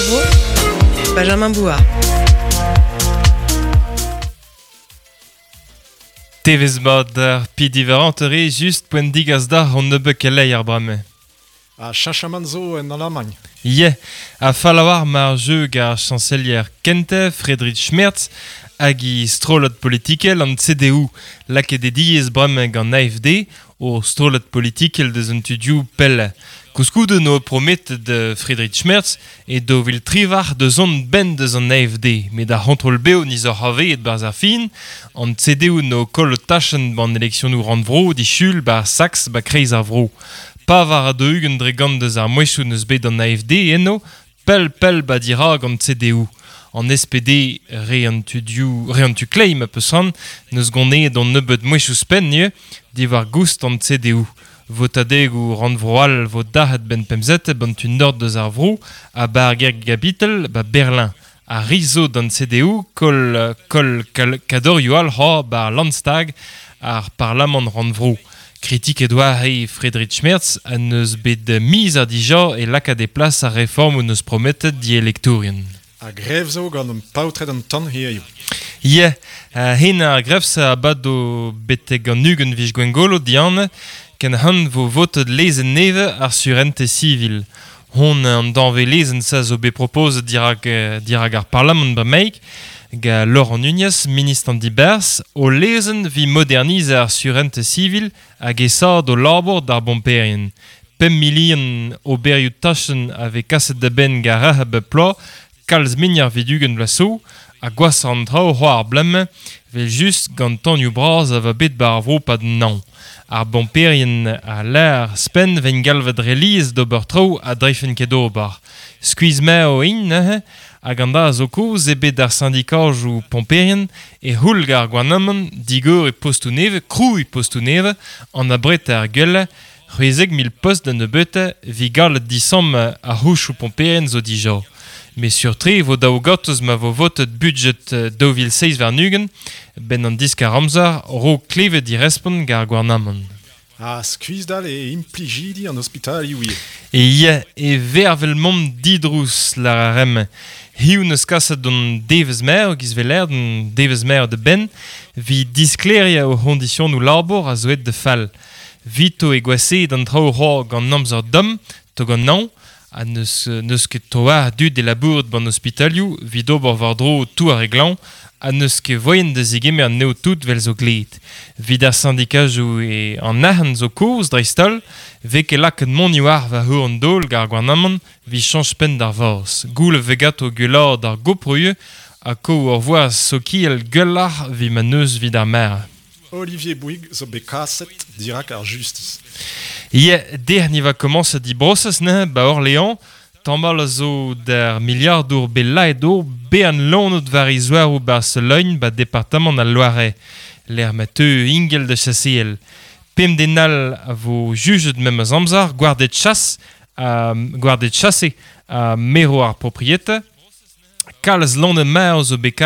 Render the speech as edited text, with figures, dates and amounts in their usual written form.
ar vro, Benjamin Bouard. Tevez mat ar pi diverant re just poent digas d'ar hon nebeut keleier bremañ. Ha cheñchamant zo en Alamagn. Ye, a fallawar mar jeu gar chancelier kente Friedrich Merz hag i strollad politikel an CDU lakaet e diez bremañ gant AFD o strollad politikel deus an tudioù pell. Koulskoude no prometet de Friedrich Merz e do vil trivar deus on ben deus an AFD, met ar c'hontrol beo niz ur haveet barzh ar fin, an CDU no koll tachenn ban eleksionoù rannvro dichul bar Sax ba kreiz ar vro. Pa war a 20 dre gant deus ar mouezhioù neus bet an AFD eno, pell pell ba dirag an CDU. An SPD re an tudioù, re an tu kleiz ma peus han, neus goneet an nebeut mouezhioù spenn ivez, diwar goust an CDU. Votadegoù rannvro all vo dac'het ben pemzete ban tu nord deus ar vro ha bar ger gabitel ba Berlin. A rizo d'an CDU kol, kol kal, kadorioù all ha bar Landstag ar parlamant rannvro. Kritik Edouard e Friedrich Merz a neus bet miz ar dija e lakaat e plas ar reform neus prometet di elektourien. Ha grev zo gant an paotred an tan hiziv. Ye, hen ar grev sa abad o betek an ugent vij gwengolo dian, ken han vo votet lezenn neve ar surente civil. Hon an danve lezenn sa zo bet propozet dirak, dirak ar parlamant bremaik, ga Laurent Nunez, ministr an diberzh, o lezenn vi modernize ar surente civil hag esad o labour d'ar bomperien. Pemp milion oberioù tachenn a vez kaset da benn gar rac'h bep ploaz, kalz mignar vidugen blaso, ha gwas an traoù c'hoar ar blemme, vel just gant tanioù bras a va bet bar ar vro pad nañ. Ar bomperien a l'ar spenn ven galvet reliez d'ober traoù a dreifen ket ober. Skuizh meo int neuze, hag an da zo kozh eo bet ar syndikajoù pomperien e c'houl gar gouarnamant digor e postoù nevez, krouiñ postoù nevez, an abret ar gueule, 16 000 post da nebeutañ vi gallet disamm ar c'houchoù pomperien zo dija. Met sur-tre e vo daou gortoz ma vo votet budget 2027 ben an diskar amzer ro klevet di respont gar gouarnamant. Ha skuizhdal e implijidi an ospitalioù ivez. E ya, e vervel mont didrouz lar ar rem. Hiziv neus kaset d'an devezh mer, giz veler d'an devezh mer de ben, vi disklêriañ o c'hondisionoù labour a zo aet da fall. Vito e gwaseet an traoù c'hoar gant amzer domm, to gant naon, ha neus, neus ket toar dud e labouret ban ospitalioù vit ober war-dro tou ar re glañv, ha neus ket voien da zegemer anezho tout vel zo gleet. Vit ar syndikajoù e an arc'hant zo kozh dreist-holl, vez ket lakaet mont war war heur an daol gar gouarnamant vit chañch penn d'ar vazh. Goul vez ganto gwelloc'h d'ar goproioù ha ko ur voaz sokial gwelloc'h vit ma neus vit ar mare. Olivier Bouygues zo bet kaset dirak ar justis. Ye, dec'h ni va komañset di brosez neuze ba Orléans, tamal a zo d'ar miliardour bet laet o bean lonet war e zouaroù Barcelone ba departamant al Loiret, lec'h ma teu ingel da chaseal. Pemp den all a vo jujet memes amzer, gwarded chas, gwarded chase ha mero ar propriete. Kalz lonet mar zo bet kaet